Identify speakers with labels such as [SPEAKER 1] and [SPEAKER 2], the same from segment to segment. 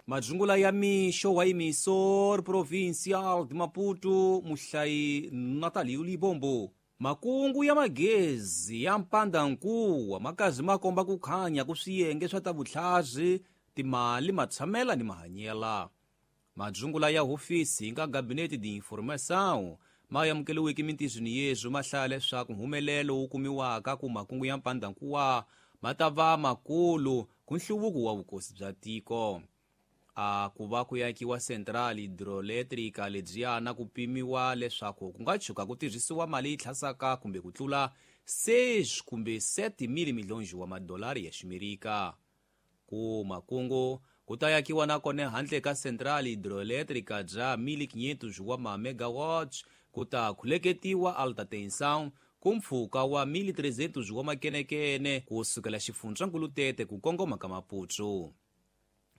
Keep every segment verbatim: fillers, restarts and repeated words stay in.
[SPEAKER 1] Madzungula ya mixo wa Emissor Provincial de Maputo, muhlayi Natalio Libombo. Makungu ya magezi ya mpandankuwa makazi makomba kukhanya ku swiyenge swa ta vutlhazi, timali, matshamela ni mahanyela. Madzungula ya hofisi nga Gabinete de Informação ma amukeliweke mintizweni yezwo ma hlaya leswaku mhumelelo wu kumiwaka ku makungu ya mpandankuwa ma ta va makulu ku nhluvuko wa vukosi bya tiko. A ku va ku yakiwa central hidroelétrica lebyiyana ku pimiwa leswaku ku nga tshuka ku tirhisiwa mali yi tlhasaka kumbe ku tlula seis kumbe sete mil milhões wa madolari ya ximerika. Ku makungu ku ta yakiwa nakona handle ka central hidroelétrica bya mil quinhentos wa ma megawatts ku ta khuleketiwa alta tensão ku mpfhuka wa mil trezentos wa makenekene ku sukela xifundzankulu Tete ku kongoma ka Maputo.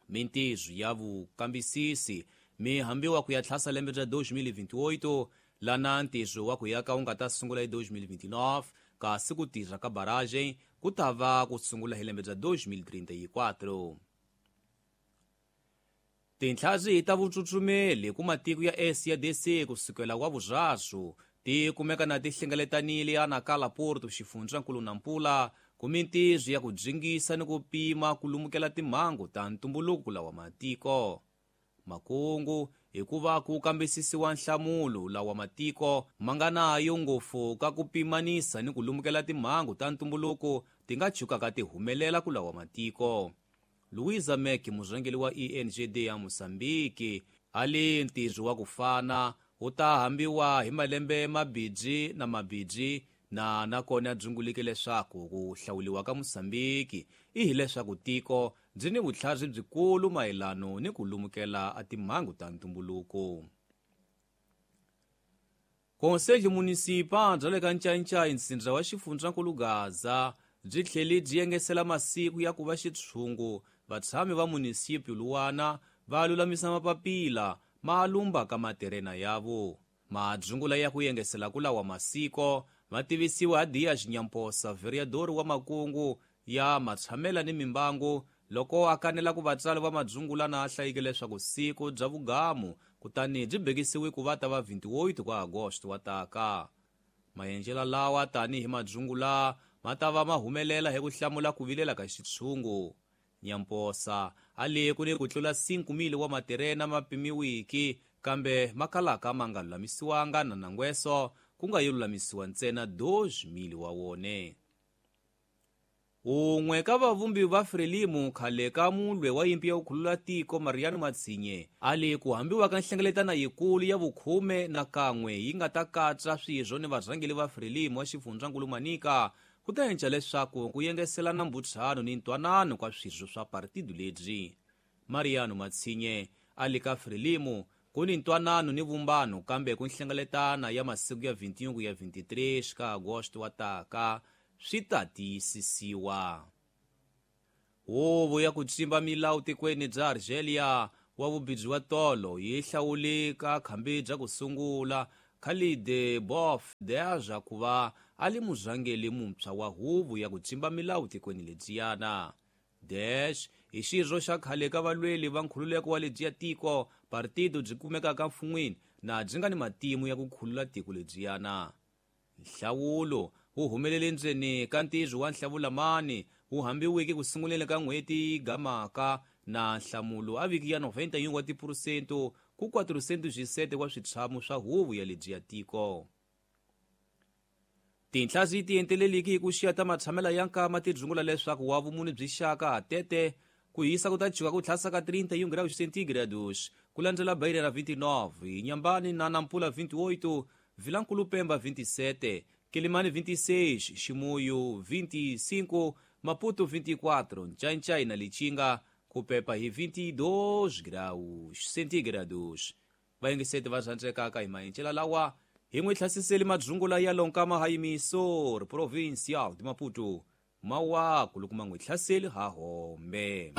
[SPEAKER 1] Mintizo ya vukambisisi mi hambiwa ku ya tlhasa lembe ra dois mil e vinte e oito lana ntizo wa ku yaka wu nga ta sungula hi dois mil e vinte e nove kasi ku tirha ka barragem ku ta va ku sungula hi lembe ra dois mil e trinta e quatro. Tintlhazi ta vutsutsumeli ku matiko ya S A D C ku sukela wa vuraru ti kumeka na ti hlengeletanile ya Nacala Porto xifundzankulu Nampula ku mintizo ya ku dzingisa ni ku pima ku lumukela timhangu ta ntumbuluko lawa matiko. Makungu hikuva ku kambisisiwa nhlamulo lawa matiko ma nga nayo ngopfu ka ku pimanisa ni ku lumukela timhangu ta ntumbuluko ti nga tshukaka ti humelela ku lawa matiko. Luísa Mek, murhangeri wa E N G D ya Mozambique, a li ntirho wa ku fana wu ta hambiwa hi malembe mabidzi na mabidzi na nakona dzungulike leswaku ku hlawuliwa ka Mozambique i hileswaku tiko byi ni vutlhari byikulu mayelano ni ku lumukela a timhangu ta ntumbuluko. Conselho Municipal bya le ka Ncancai ntsindza wa xifundzankulu Gaza byi tlhele byi yengesela masiku ya ku va xitshungu vatshami va munisipyu luwana va lulamisa mapapila ma lumba ka materena yavo. Madzungula ya ku yengesela ku lawa masiko ma tivisiwa Dias Nyamposa, vereador wa makungu ya matshamela ni mimbangu, loko a kanela ku vatswari va madzungula na a hlayike leswaku siku bya vugamu kutani byi bekisiwe ku va ta va vinte e oito ka Agosto wa taka. Maendlelo lawa tanihi madzungula ma ta va ma humelela hi ku hlamula ku vilela ka xitshungu. Nyamposa a li ku ni ku tlula cinco mil wa materena ma pimiwiki kambe ma kalaka ma nga lulamisiwanga na nangweso ku nga yo lulamisiwa ntsena dois mil wa wone. Un'we ka vavumbi va Frelimo khale ka mulwe wa yimpi ya ku khulula tiko Mariano Matsinye a li ku hambiwa ka nhlengeletano yikulu ya vukhume na kan'we yi nga ta katsa swirho ni varhangeri va Frelimo wa xifundzankulu Manica ku ta endla leswaku ku yengeselana mbutsano ni ntwanano ka swirho swa partido lebyi. Mariano Matsinye a li ka Frelimo ku ni ntwanano ni vumbano kambe ku nhlengeletana ya masiku ya vinte e um ya vinte e três ka Agosto wa taka swi ta tiyisisiwa. Huvo ya ku tsimba milawu tikweni bya Argelia wa vubidzi wa tolo yi hlawule ka khambi bya ku sungula Khalid Bof Deja ku va a li murhangeri muntshwa wa huvo ya ku tsimba milawu tikweni lebyiyana. Dash i xirho xa khale ka valweli va nkhululeko wa lebyiya tiko partido byi kumekaka mfun'wini na byi nga ni matimu ya ku khulula tiko lebyiyana. Nhlawulo wu humelele ndzeni ka ntirho wa nhlavulamani wu hambiweke ku sunguleni ka n'hweti gamaka na nhlamulo a viki ya noventa e um wa tiphurusento ku quatrocentos e sete wa switshamo swa huvo ya lebyiya tiko. Tinhlazi ti enteleliki hi ku xiya ta matshamela ya nkama ti dzungula leswaku wa vumune byi xaka Tete ku hisa ku ta chuka ku tlhasa ka trinta e um graus centígrados ku landzela Beira na vinte e nove, Inhambane na Nampula vinte e oito, Vilankulo Pemba vinte e sete, Quelimane vinte e seis, Chimoio vinte e cinco, Maputo vinte e quatro, Nchainchai na Lichinga ku pepa hi vinte e dois graus centígrados. Vayengeseti va rhandzekaka hi maendlelo lawa hi n'wi hlasiseli madzungula ya lonkama ha Emissor Provincial de Maputo mawaku loko ma n'wi hlaseli ha hombe.